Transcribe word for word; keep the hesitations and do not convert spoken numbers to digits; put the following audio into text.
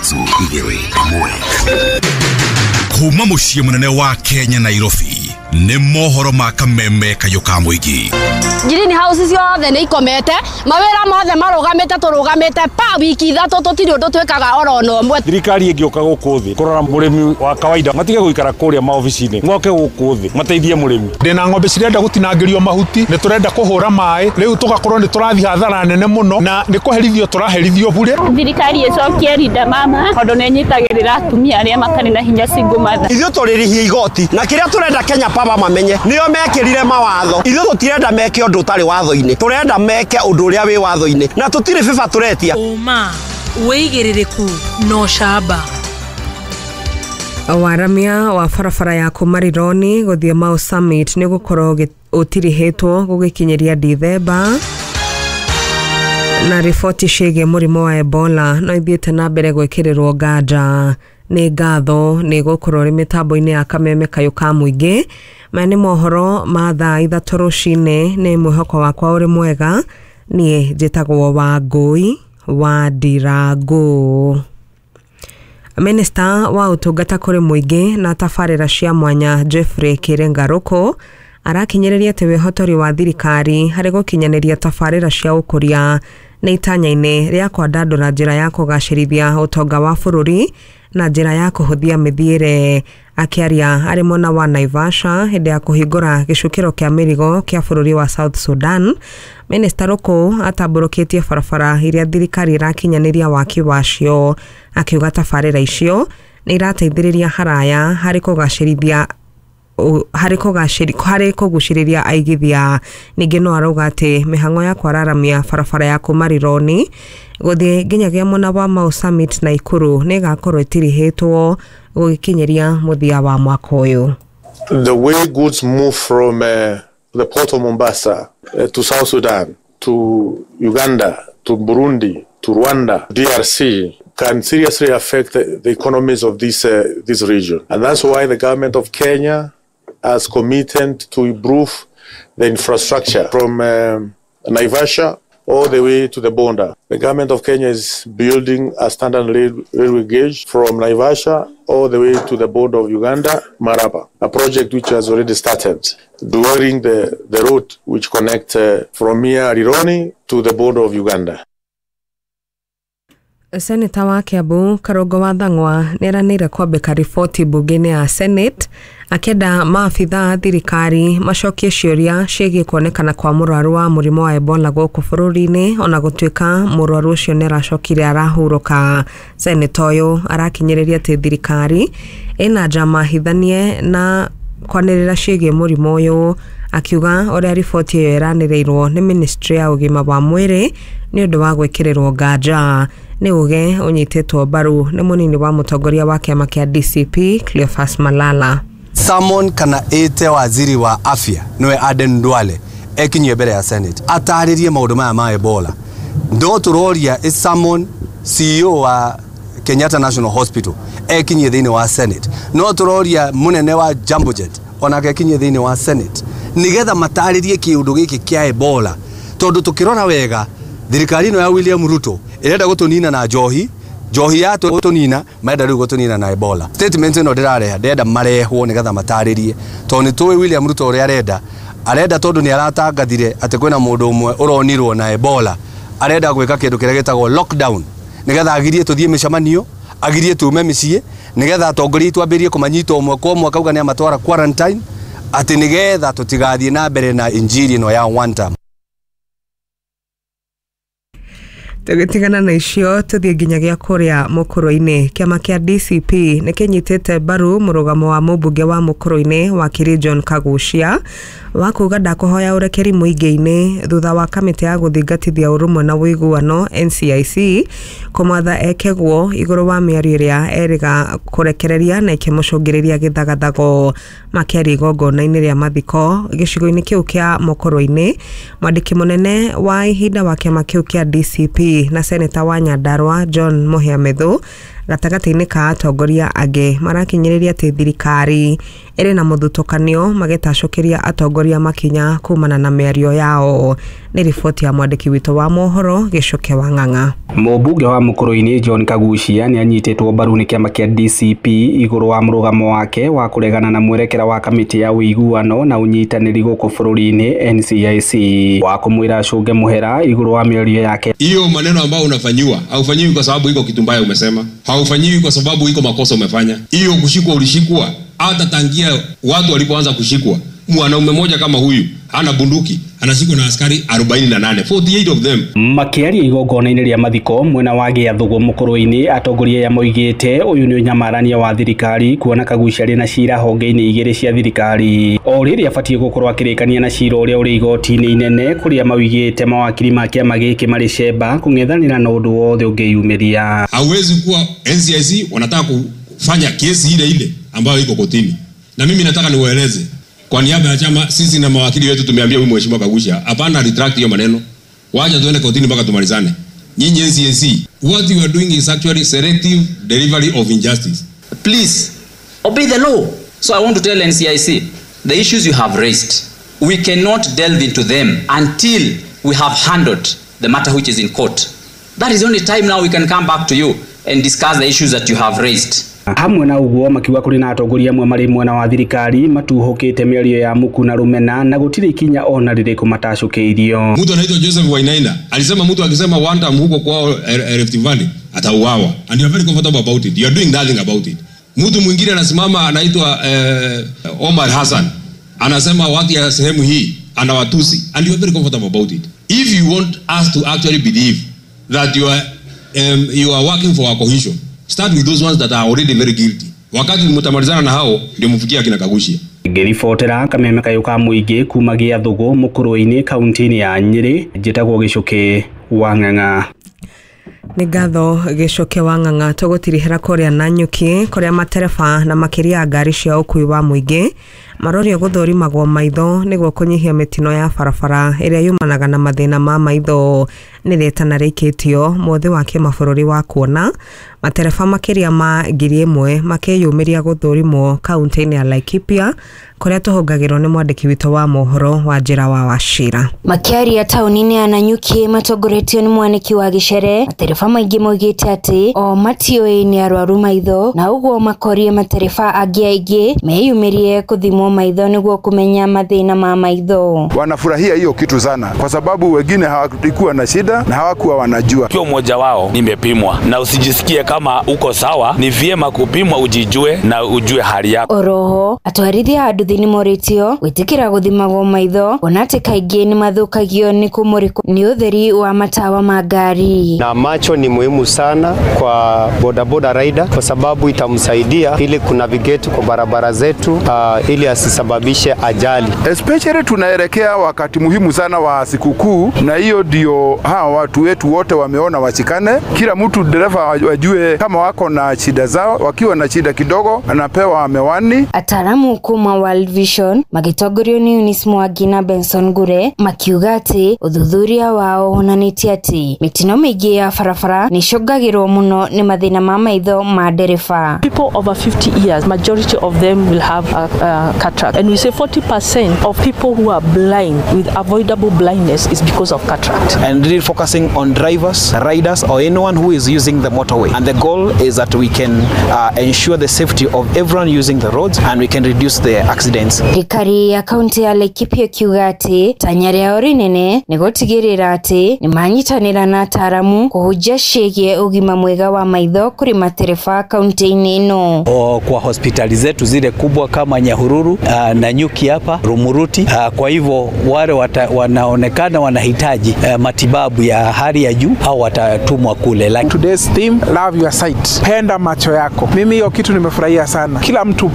Ithatũ, igĩrĩ, ĩmwe. Kuma mũciĩ mũnene wa Kenya, Nairobi, nĩ mohoro ma Kameme Kayũ ka Mũingĩ. Green house ciothe nĩ ikomete, mawĩra mothe marũgamĩte, tũrũgamĩte pa wiki ithatũ, tũtirĩ ũndũ twĩkaga oro na ũmwe. Thirikari ĩngĩũka gũkũ thĩ kũrora mũrĩmi wa kawaida, matige gũikara kũrĩa maobici-inĩ, moke gũkũ thĩ mateithie mũrĩmi. Ndĩna ng'ombe cirenda gũtinangĩrio mahuti, nĩ tũrenda kũhũra maĩ, rĩu tũgakorwo nĩ tũrathiĩ hathara nene mũno na nĩ kũherithio tũraherithio bure. Thirikari ĩcokie Linda Mama tondũ nĩ ĩnyitagĩrĩra atumia arĩa matarĩ na hinya, single mother. Ithuĩ tũrĩrĩhia igoti na kĩrĩa tũrenda Kenya Power mamenye nĩo mekĩrire mawatho. Ithuĩ tũtirenda meke ũndũ ũtarĩ watho-inĩ, tũrenda meke ũndũ ũrĩa wĩ watho-inĩ na tũtirĩ bĩba tũretia. Ũma, wĩigĩrĩrĩku na ũcamba. Waramia wa barabara ya kuma Rironi gũthiĩ Mau Summit nĩ gũkorwo ũtirihĩtwo gũgĩkinyĩria Dithemba. Na riboti ciĩgiĩ mũrimũ wa Ebola no ithiĩte na mbere gwĩkĩrĩrwo nganja. Nĩ ngatho nĩ gũkorwo rĩ mĩtambo-inĩ ya Kameme Kayũ ka Mũingĩ. Maya nĩ mohoro ma thaa ithatũ rũcinĩ. Nĩ mwĩhoko wakwa ũrĩ mwega. Niĩ njĩtagwo Wangũi wa Ndirangũ. Minista wa ũtungata kũrĩ mũingĩ na tabarĩra cia mwanya Jeffrey Kiringaruku arakinyĩrĩria atĩ wĩhotori wa thirikari harĩ gũkinyanĩria tabarĩra cia ũkũria nĩ itanya-inĩ rĩa kwandandũra njĩra ya kũgacĩrithia ũtonga wa bũrũri na njĩra ya kũhũthia mĩthiĩre. Akĩaria arĩ mwena wa Naivasha hĩndĩ ya kũhingũra gĩcukĩro kĩa mĩrigo kĩa bũrũri wa South Sudan, Minista Ruku atambũrũkĩtie barabara iria thirikari ĩrakinyanĩria waki wacio, akiuga tabarĩra icio nĩ irateithĩrĩria haraya harĩ kũgacĩrithia harĩ kũgacĩri harĩ kũgucĩrĩria aigithia. Ningĩ no arauga atĩ mĩhang'o ya kwararamia barabara ya kuma Rironi gũthiĩ nginyagia mwena wa Mau Summit na Ikuru nĩ ĩgakorwo ĩtirihĩtwo gũgĩkinyĩria mũthia wa mwaka ũyũ. The way goods move from uh, the port of Mombasa uh, to South Sudan, to Uganda, to Burundi, to Rwanda, D R C, can seriously affect the, the economies of this, uh, this region. And that's why the government of Kenya has committed to improve the infrastructure from um, Naivasha all the way to the border. The government of Kenya is building a standard rail, railway gauge from Naivasha all the way to the border of Uganda, Maraba, a project which has already started during the, the road which connects uh, from here, Rironi, to the border of Uganda. Seneta wa Kiambu Karungo wa Thang'wa nĩeranĩire kwambĩka riboti mbunge-inĩ ya Senate akĩenda maabitha a thirikari macokie ciũria ciĩgiĩ kuonekana kwa mũrwaru wa mũrimũ wa Ebola gũkũ bũrũri-inĩ, ona gũtuĩka mũrwaru ũcio nĩ aracokire arahurũka. Seneta ũyũ arakinyĩrĩria atĩ thirikari ĩna njama hithanie na kwanĩrĩra ciĩgiĩ mũrimũ ũyũ, akiuga ũrĩa riboti ĩyo ĩranĩrĩirwo nĩ ministry ya ũgima wa mwĩrĩ nĩ ũndũ wa gwĩkĩrĩrwo nganja. Nĩ uge ũnyitĩtwo mbaru nĩ mũnini wa mũtongoria wa kĩama kĩa D C P Cleophas Malala. Summon kana ĩte waziri wa afya, nĩwe Aden Duale, ekinyie mbere ya Senate atarĩrie maũndũ maya ma Ebola. Ndo tũroria ĩ summon C E O wa Kenyatta National Hospital ekinyie thĩinĩ wa Senate. No tũroria mũnene wa Jambojet onake ekinyie thĩinĩ wa Senate nigetha matarĩrie kĩũndũ gĩkĩ kĩa Ebola, tondũ tũkĩrora wega thirikari ĩno ya William Ruto ĩrenda gũtũnina na njohi. Njohi ya gũtũnina, marenda rĩu gũtũnina na Ebola. Statement ĩno ndĩrareha, ndĩrenda marehwo nĩgetha matarĩrie, tondũ nĩ tũĩ William Ruto ũrĩa arenda arenda tondũ nĩ aratangathire atĩ kwĩna mũndũ ũmwe ũronirwo na Ebola. Arenda gwĩka kĩndũ kĩrĩa gĩtagwo lockdown nĩgetha agirie tũthiĩ mĩcemanio, agirie tume mĩciĩ, nĩgetha atongoria aitũ ambĩrĩrie kũmanyita ũmwe kwa ũmwe, akauga nĩ amatwara quarantine, atĩ nĩgetha tũtigathiĩ na mbere na injiri ĩno ya one term. Tũgĩtigana na icio, tũthiĩ nginyagia kũrĩa mũkũrũ-inĩ. Kĩama kĩa D C P nĩ kĩnyitĩte mbaru mũrũgamo wa mũmbunge wa mũkũrũ-inĩ wakiri John Kagucia wa kuga ndakũhoya ũrekeri mũingĩ-inĩ thutha wa kamĩtĩ ya gũthingatithia ũrũmwe na ũiguano N C I C kũmwatha ekeguo igũrũ wa mĩario ĩrĩa erĩga kũrekereria na ĩkĩmũcũngĩrĩria gĩthagathago. Makĩaria igongona-inĩ rĩa mathiko gĩcigo-inĩ kĩu kĩa mũkũrũ-inĩ, mwandĩki mũnene wa ihinda wa kĩama kĩu kĩa D C P na seneta wa Nyandarua John Mũhia Methu gatagatĩ-inĩ ka atongoria angĩ marakinyĩrĩria atĩ thirikari ĩrĩ na mũthutũkanio magĩtacũkĩria atongoria makinya kumana na mĩario yao. Nĩ riboti ya mwandĩki witũ wa mohoro Gĩcuke wa Ng'ang'a. Mũmbunge wa Mũkũrũ-inĩ John Kaguchia nĩ anyitĩtwo mbaru nĩ kĩama kĩa D C P igũrũ wa mũrũgamo wake wa kũregana na mwerekera wa kamĩtĩ ya ũiguano na ũnyitanĩri gũkũ bũrũri-inĩ N C I C wa kũmwĩra acũnge mũhera igũrũ wa mĩario yake. Hiyo maneno ambayo unafanyiwa haufanyiwi kwa sababu iko kitu mbaya umesema, haufanyiwi kwa sababu iko makosa umefanya. Hiyo kushikwa ulishikwa hata tangia watu walipoanza kushikwa. Mwanaume mmoja kama huyu hana bunduki anashikwa na askari arobaini na nane, forty-eight of them. Makiaria igongona-inĩ rĩa mathiko mwena wa Gĩathũgũ Mũkũrũ-inĩ atongoria ya moigĩte ũyũ nĩ ũnyamarania wa thirikari kuona Kaguchia arĩ na cira honge-inĩ igĩrĩ cia thirikari o rĩrĩa abatiĩ gũkorwo akĩrĩkania na cira ũrĩa ũrĩ igoti-inĩ inene kũrĩa mawigĩte mawakiri ma kĩama gĩkĩ marĩ cemba kũng'ethanĩra na ũndũ wothe ũngĩyumĩria. Hauwezi kuwa N C I C wanataka kufanya kesi ile ile ambayo iko kotini, na mimi nataka niwaeleze kwa niaba ya chama, sisi na mawakili wetu tumeambia huyu mheshimiwa Kaguchia hapana retract hiyo maneno, wacha tuende kotini mpaka tumalizane. Nyinyi N C I C, what you are doing is actually selective delivery of injustice. Please obey the law. So I want to tell N C I C, the issues you have raised, we cannot delve into them until we have handled the matter which is in court. That is the only time now we can come back to you and discuss the issues that you have raised. Hamwe na uguo makiuga kuri na atongoria amwe mari mwena wa thirikari matuhukite mĩario ya muku na rumena na gũtirĩ ikinya ona rĩrĩkũ matacũkĩirio. Mtu anaitwa Joseph Wainaina alisema mtu akisema one time huko kwao Rift Valley atauawa, and you are very comfortable about it, you are doing nothing about it. Mtu mwingine anasimama anaitwa eh, Omar Hassan anasema watu ya sehemu hii anawatusi, and you are very comfortable about it. If you want us to actually believe that you are um, you are working for our cohesion, start with those ones that are already very guilty. Wakati mtamalizana na hao ndio mfikia kina Kaguchia. Ngĩribotera kameme kayũ ka mũingĩ kuma Gĩathũgũ Mũkũrũ-inĩ kaunti-inĩ ya Nyĩrĩ, njĩtagwo Gĩcuke wa Ng'ang'a. Nĩ ngatho Gĩcuke wa Ng'ang'a. Tũgũtirihĩra kũrĩa Nanyuki kũrĩa matereba na makĩria ngari cia ũkuui wa mũingĩ marorio gũthũrimagwo maitho nĩguo kũnyihia mĩtino ya barabara ĩrĩa yumanaga na mathĩna ma maitho. Nĩ rĩtana rĩikĩtio mũthĩ wa kĩmabũrũri wa kuona matereba makĩria ma ngiri ĩmwe makĩyumĩria gũthũrimwo kaunti-inĩ ya Laikipia kũrĩa tũhũngagĩrwo nĩ mwandĩki witũ wa mohoro wa Njĩra wa Wachira. Makĩaria taũni-inĩ ya Nanyuki matongoretio nĩ mwanĩki wa Gĩcere, matereba maingĩ moigĩte atĩ o matiũĩ nĩ arwaru maitho na ũguo makorie matereba angĩ aingĩ meyumĩrie kũthimwo maitho nĩguo kũmenya mathĩna ma maitho. Wanafurahia hiyo kitu sana kwa sababu wengine hawakuwa na shida na hawakuwa wanajua. Kio mmoja wao nimepimwa, na usijisikie kama uko sawa, ni vyema kupimwa ujijue na ujue hali yako. Oroho atwarithia a nduthi nĩ morĩtio gwĩtĩkĩra gũthimagwo maitho ona atĩ kaingĩ nĩ mathũkagio nĩ kũmũrĩkwo nĩ ũtheri wa matawa ma ngari. Na macho ni muhimu sana kwa bodaboda rider kwa sababu itamsaidia ili kunavigate kwa barabara zetu, uh, ili asisababishe ajali. Especially tunaelekea wakati muhimu sana wa sikukuu, na hiyo ndio hawa watu wetu wote wameona washikane. Kila mtu dereva wajue kama wako na shida zao, wakiwa na shida kidogo anapewa mewani. Ataalamu kuma World Vision magĩtongorio nĩ Eunice Mwangi na Benson Ngure makiuga atĩ ũthuthuria wao wonanĩtie atĩ mĩtino mĩingĩ ya barabara nĩ ĩcũngagĩrwo mũno nĩ mathĩna ma maitho ma ndereba. People over fifty years, majority of them will have a, a cataract, and we say forty percent of people who are blind with avoidable blindness is because of cataract. And really focusing on drivers, riders, or anyone who is using the motorway. And the goal is that we can uh, ensure the safety of everyone using the roads and we can reduce the accidents. Thirikari ya kaunti ya Laikipia kiuga atĩ tanya rĩao rĩnene nĩ gũtigĩrĩra atĩ nĩ manyitanĩra na ataaramu kũhunjia ciĩgiĩ ũgima mwega wa maitho kũrĩ matereba kaunti-inĩ ĩno. O, kwa hospitali zetu zile kubwa kama Nyahururu uh, Nanyuki hapa Rumuruti, uh, kwa hivyo wale wata, wanaonekana wanahitaji uh, matibabu ya hali ya juu au watatumwa kule. Like today's theme, love your sight, penda macho yako. Mimi hiyo kitu nimefurahia sana. Kila mtu